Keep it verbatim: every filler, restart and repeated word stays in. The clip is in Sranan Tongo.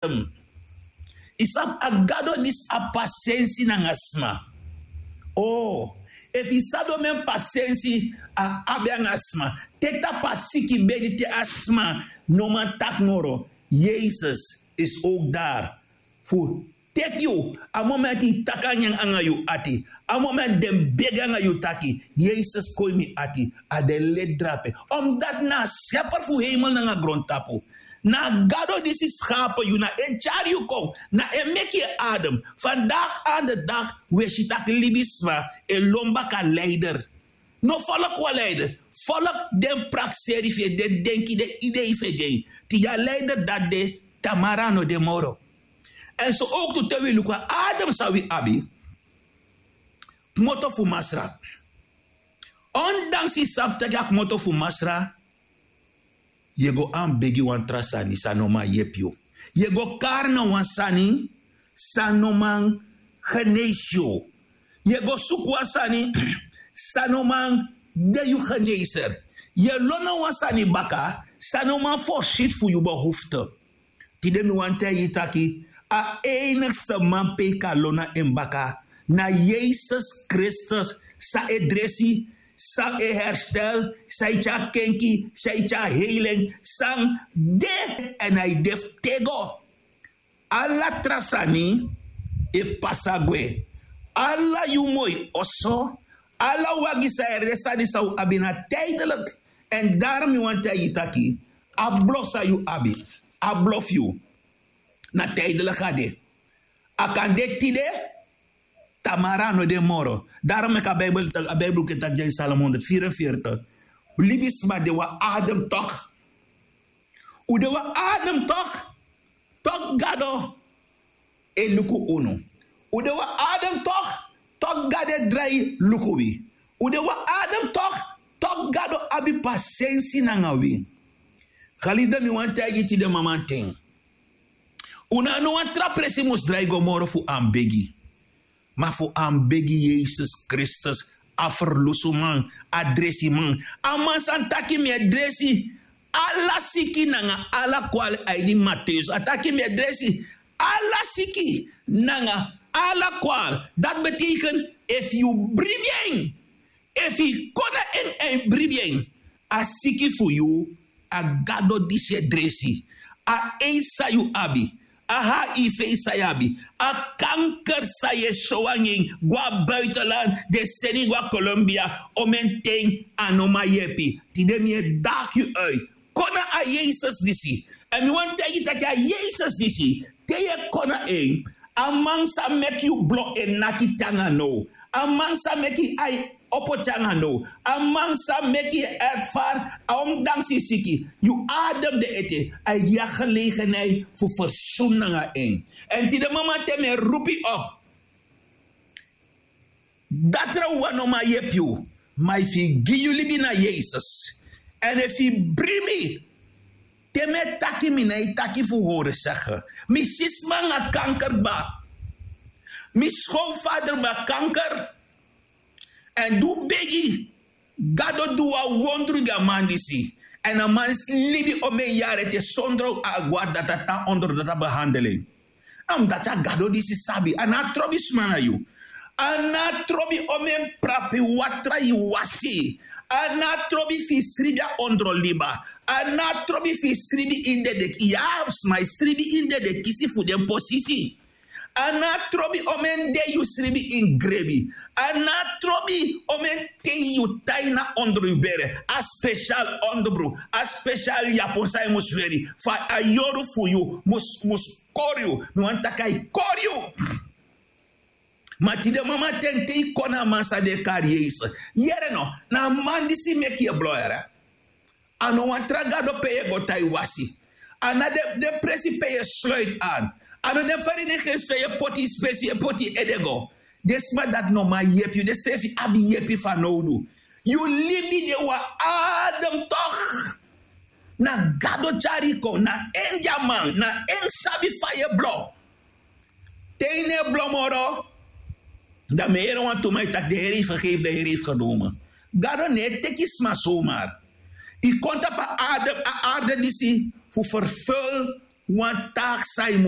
Adam. Yu sabi a gado disi a pasensi nanga sma. O, efu yu sabi omen pasensi a abi anga sma, te tapu a siki bedi te a sma no man taki moro, yesus is ook dari fu teki yu. A momenti yu taki a nyan anga yu ati, a momenti den begi anga yu taki yesus kon ini mi ati, a den leti drape. Omdati na a skeper fu heimel nanga grontapu, na a gado disi skape yu, na en tyari yu kon, na en meki yu adem. Vandaag aan de dag wi e si taki libisma e lon baka leider. No folok wan leider, folok den prakseri fu yu, den denki, den idei fu yu. Te yu a leider dati de, tamara a no de moro. Èn so owktu te wi luku a adem san wi abi, kmoto fu masra. Ondanks yu sabi taki a kmoto fu masra, yu e go anbegi wan tra sani san no man yepi yu. Yu e go kari na wan sani san no man geneisi yu. Yu e go suku wan sani san no man de yu geneser. Yu e lon na wan sani baka san no man forsiti fu yu behofte. Tide mi wani taigi yu taki a enigste man pe yu kan lon na en baka na yesus kristus, san e dresi, san e herstel, san e tyari kenki, san e tyari heilen, san de èn a e de fu tego. Ala tra sani e pasa gwe. Ala yu moi oso, ala wagi san e resi, sani san un abi na tidelik. Èn daro mi wani taigi yu taki a blo san yu abi, a blo fu yu, na tidelik a de. A kan de tide, tamara a no de moro. Daro meki a bibel, a bibel ke taki gi en salomon honderdvierenveertig, libisma de wan adem tok. Un de wan adem tok. Tok gado e luku unu. Un de wan adem tok. Tok gado e drai luku wi. Un de wan adem tok. Tok gado abi pasensi nanga wi. Galide mi wani taigi tide mamanten, un na no wan tra presi mus drai go moro fu anbegi. Ma fu anbegi yesus kristus, a ferlusuman, a dresiman, a man san taki mi e dresi ala siki nanga ala kwali a ini mateus a taki mi e dresi ala siki nanga ala kwali. Dati beteken efu yu bribi en, efu yu kon na en èn yu bribi en, a siki fu yu, a gado disi e dresi. A eisa yu abi, a ha yu fei san yu abi, a kanker san yu e sow anga en go na buitenland, den seni go na colombia, omenten a no man yepi. Tide mi e daki yu uit, kon na a yesus disi. Èn mi wani taigi yu taki a yesus disi, te yu e kon na en, a man sa meki yu blo e naki te anga now, a man sa meki yu ai opo te anga now, a man sa meki yu erfari a omdanksi siki, yu adem de ete, a e gi yu a gelegenheit fu fersun nanga en. Èn tide mama te mi e rupu yu op, datra wan no man yepi yu. Ma efu yu gi yu libi na yesus, èn efu yu bribi, te mi e taki mi na e taki fu hori sege, mi si sma nanga kanker kba, mi skowfader ben a kanker. Èn di un begi, gado du wan wondru gi a man disi. Èn a man disi libi omen yari ete sondro a go na dati a tan ondro dati a behandel en. A mus dati a gado disi sabi a no a trobi sma na yu. A no a trobi omen prapi watra yu wasi. A no a trobi fu yu sribi a ondro liba. A no a trobi fu yu sribi ini dedeki ya. Sma e sribi ini dedeki kisi fu den posisi. A no a trobi omen dei yu sribi ini grebi. A no a trobi omen ten yu tai na ondro yu bere a spesial ondro, a spesial yapon san yu mus weri fu a yoru fu yu mus kori yu. Mi wani taki a e kori yu. Ma tide mama ten te yu kon na a man san den e kari yesus, yere no, na a man disi meki yu e blo yere. A no wan tra gado pe yu e go tan yu wasi. A na den presi pe yu e sloiti an. A no den feri den gesi pe yu e poti yu spesi yu e poti yu ede go. Den sma dati no man yepi yu den srefi abi yepi fanowdu. Yu libi de wan adem tok. Na gado tyari yu kon na en di a man na en sabi fa yu e blo. Te yu no e blo moro, dan mi e yere wantu man e taki den heri yu fergefi den heri yu fergenomen. Gado no e teki sma somar. Yu kon tapu a arde disi fu ferfel wan taak san yu mu